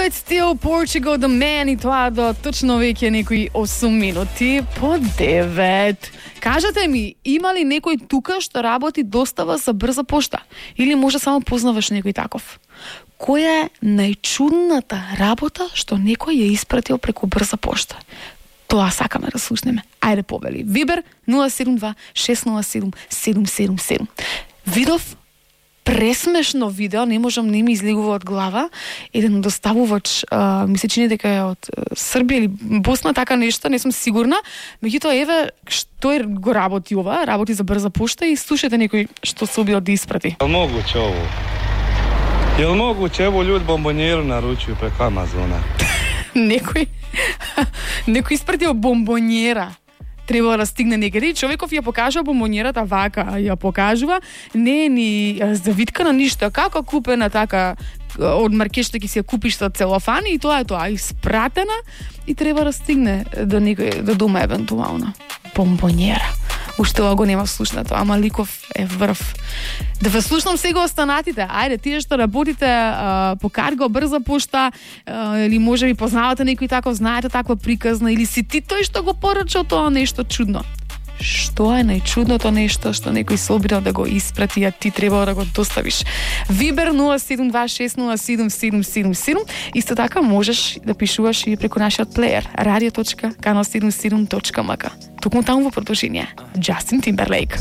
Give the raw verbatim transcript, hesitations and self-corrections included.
It's still Portugal, the man, и тоа до точно веќе некои осум минути по девет. Кажете ми, има ли некој тука што работи достава за брза пошта? Или може само познаваш некој таков? Која е најчудната работа што некој ја испратил преку брза пошта? Тоа сакаме да слушнеме. Ајде повели. Вибер нула седум два шест нула седум седум седум седум. Видов пресмешно видео, не можам, не ми излегува од глава. Еден доставувач, а, ми се чини дека е од Србија или Босна, така нешто, не сум сигурна. Меѓутоа, еве, што е го работи ова, работи за брза пошта и слушате некој што се обио да испрати. Јел могуќе ово? Јел могуќе, ево луѓе бомбонјеру наручуju преку Амазона? Некој, некој испратил бомбонјера. Треба да стигне некаде. Човеков ја покажува бомбонјерата вака, ја покажува, не е ни завиткана ништо, како купена така од маркет што ќе си ја купиш со целофан и тоа е тоа, испратена и треба да стигне до некој до дома евентуално. Бомбонјера. Уште ова го нема слушнато, ама ликов е врв. Да ве слушнам сега останатите. Ајде, тие што работите а, по карго, брза пошта, а, или може би познавате некој таков, знаете таква приказна, или си ти тој што го порачал тоа нешто чудно. Што е најчудното нешто што некој се обидел да го испрати, а ти треба да го доставиш? Вибер нула седум два шест нула седум седум седум седум. Исто така можеш да пишуваш и преку нашиот плеер радио точка канал седумдесет и седум точка ем ка. Токму таму во продолжение Джастин Тимберлейк.